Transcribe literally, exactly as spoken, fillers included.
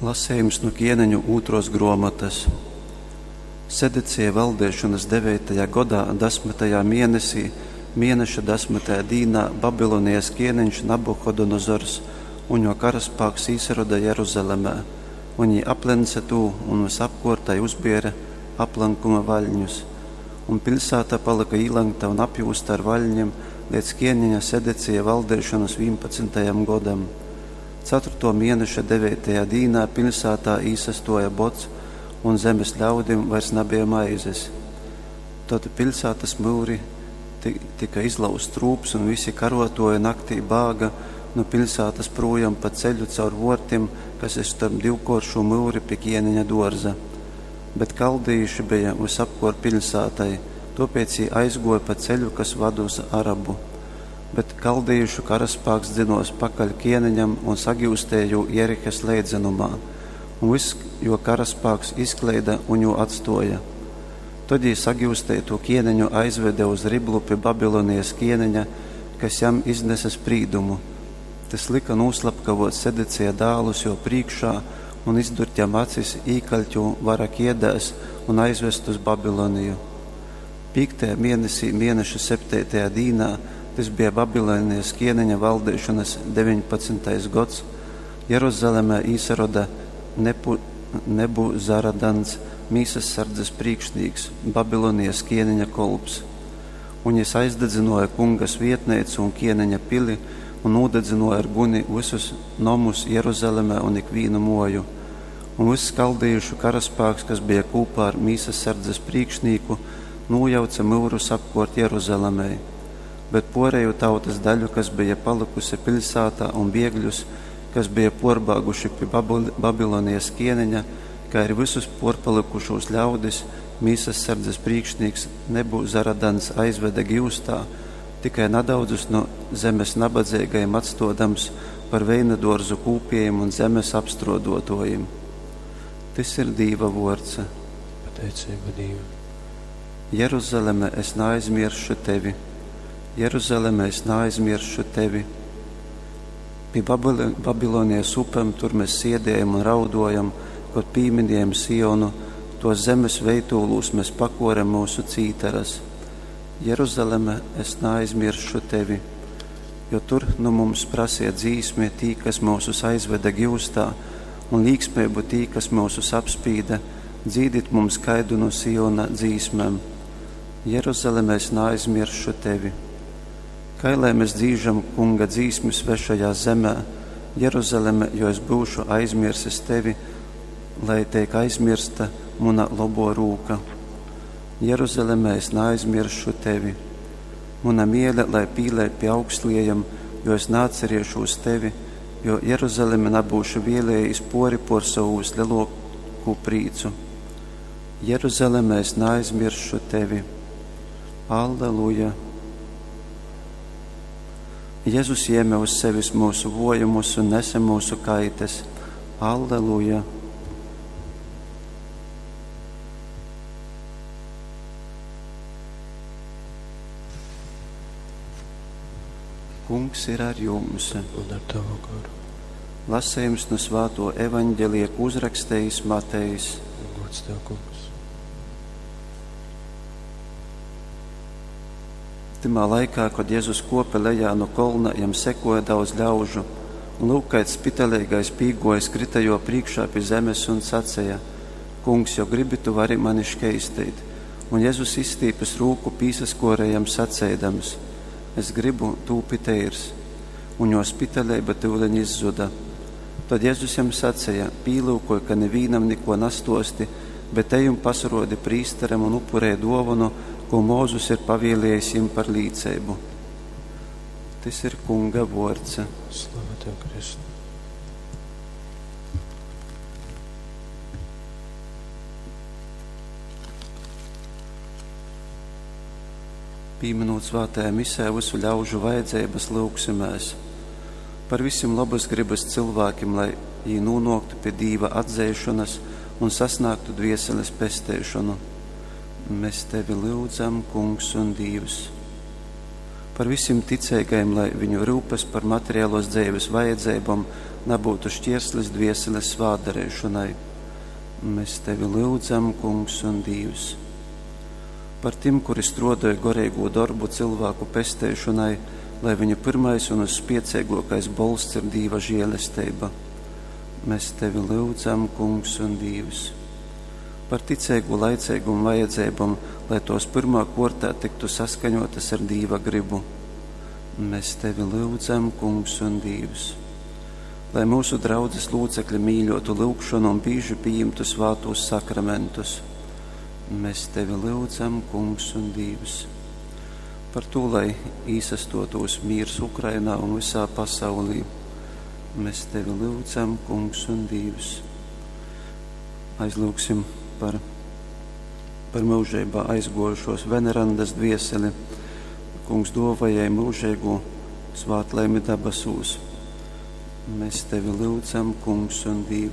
Lasejums nu Kieneņu ūtruos gruomotys. Sedecija valdeišonys deveitajā godā, dasmytajā mienesī, mieneša dasmytajā dīnā Babilonijas kieneņš Nabuhodonozors un juo karaspāks īsaroda Jeruzalemē, un jī aplence tū un vysapkuort tai uzbiere aplankuma vaļņus. Un piļsāta palyka īlenkta un apjūzta ar vaļnim leidz kieneņa Sedecija valdeišonys vīnpadsmytajam godam. Caturtuo mieneša deveitajā dīnā piļsātā īsastuoja bods, un zemes ļaudim vairs nabeja maizes. Tod piļsātys myuri tyka izlauzts trūps, un visi karuotuoji naktī bāga nu piļsātys prūjom pa ceļu caur vuortim, kas ir storp divkuoršū myuri pi kieneņa duorza. Bet kaldejīši beja vysapkuort piļsātai, tuopēc jī aizguoja pa ceļu, kas vad uz Arabu. Bet kaldejīšu karaspāks dzynuos pakaļ kieneņam un sagiustēja jū Jerihas leidzenumā, un vyss juo karaspāks izkleida un jū atstuoja. Tod jī sagiusteitū kieneņu aizvede uz Riblu pi Babilonijas kieneņa, kas jam iznese sprīdumu. Tys lyka nūslapkavuot Sedecija dālus juo prīškā un izdurt jam acis, īkaļt jū vara kiedēs un aizvest uz Babiloniju. Pīktajā mienesī, mieneša septeitajā dīnā, tys bija Babilonijas kieneņa valdeišonys deveņpadsmytais gods, Jeruzalemē īsaroda Nepu, Nebuzaradans, mīsassardzes prīkšnīks, Babilonijas kieneņa kolps. Un jis aizdadzynuoja Kunga svietneicu un kieneņa pili un nūdadzynuoja ar guni vysus nomus Jeruzalemē un ikvīnu muoju. Un vyss kaldejīšu karaspāks, kas bija kūpā ar mīsassardzes prīkšnīku, nūjauce myurus apkuort Jeruzalemei. Bet puoreju tautys daļu, kas beja palykuse piļsātā, un biegļus, kas beja puorbāguši pi Babilonijas kieneņa, kai ari vysus puorpalykušūs ļaudis, mīsassardzes prīkšnīks Nebuzaradans aizvede giustā, tikai nadaudzus nu zemes nabadzeigajim atstuodams par veinaduorzu kūpiejim un zemes apstruoduotuojim. Tys ir Dīva vuords. Pateiceiba Dīvam. Jeruzaleme, es naaizmiersšu tevi. Jeruzaleme, es naaizmiersšu tevi. Pi Babilonijas upem tur mēs siediejam un raudojam, kod pīminiejam Sionu, tuos zemes veitūlūs mēs pakorem myusu cītaras. Jeruzaleme, es naaizmiersšu tevi, jo tur nu mums prasīja dzīsmi tī, kas myusus aizveda giustā, un līksmeibu tī, kas myusus apspīda, dzīdit mums kaidu no Siona dzīsmēm. Jeruzaleme, es naaizmiersšu tevi. Kai lai mēs dzīžam Kunga dzīsmi svešajā zemē, Jeruzaleme, jo es būšu aizmirsis tevi, lai teik aizmirsta muna lobo rūka. Jeruzaleme, es naaizmiršu tevi. Muna miele, lai pīlē pie augstliejam, jo es nāceriešūs tevi, jo Jeruzaleme nabūšu vēlējis pori por savu vislielāko prīcu. Jeruzaleme, es naaizmiršu tevi. Alleluja! Jēzus jēma uz sevis mūsu vojumus un nesa mūsu kaites. Alleluja! Kungs ir ar jums. Un ar tavu garu. Lasījums no Svāto evaņģelija, ko uzrakstījis Matejs. Gods tev, Kungs. Tymā laikā, kad Jēzus kope lejā no kolna, jam sekoja daudz ļaužu, un lūk, kāds spitelīgais pīgojis krita jo priekšā pie zemes un sacīja: Kungs, jo gribi, tu vari mani škeistīt. Un Jēzus izstīpis rūku pīsaskorējam sacēdams: Es gribu, tūpi teirs. Un jo spitelība tyuleņ izzuda. Tad Jēzus jam sacīja: Pīlūkoj, ka nevīnam neko nastosti, bet ej un pasarodi prīsteram un upurē dovanu, ko Mūzus ir pavēlējis jim par līceibu. Tys ir Kunga vords. Slava tev, Kristu. Pīminot svētajā misē visu ļaužu vajadzības, lūgsimēs par visiem labas gribas cilvēkiem, lai jī nonāktu pie Dīva atzeišanas un sasniegtu dvieseles pesteišanu. Mēs tevi lūdzam, Kungs un Dievs. Par visiem ticīgajiem, lai viņu rūpes par materiālos dzīves vajadzībām nabūtu šķierslis dvieseles svātdareišonai. Mēs tevi lyudzam, Kungs un Dīvs. Par tim, kuri struodoj goreigū dorbu cilvēku pesteišonai, lai viņu pirmais un uzspiecīgākais bolsts ir Dīva žēlestība. Mēs tevi lyudzam, Kungs un Dīvs. Par ticīgu laicīgumu vajadzībām, lai tos pirmā kortā tiktu saskaņotas ar Dīva gribu. Mēs tevi lyudzam, Kungs un Dīvs. Lai mūsu draudzes locekļi mīļotu lūgšanu un bieži pieņemtu svātos sakramentus. Mēs tevi lyudzam, Kungs un Dīvs. Par to, lai īsastotūs mīrs Ukrainā un visā pasaulī. Mēs tevi lyudzam, Kungs un Dīvs. Aizlūgsim par, par mūžībā aizgojušos venerandas dvieseli. Kungs dovajai mūžīgo svātlaimi dabasūs. Mēs tevi lyudzam, Kungs un Dīvs.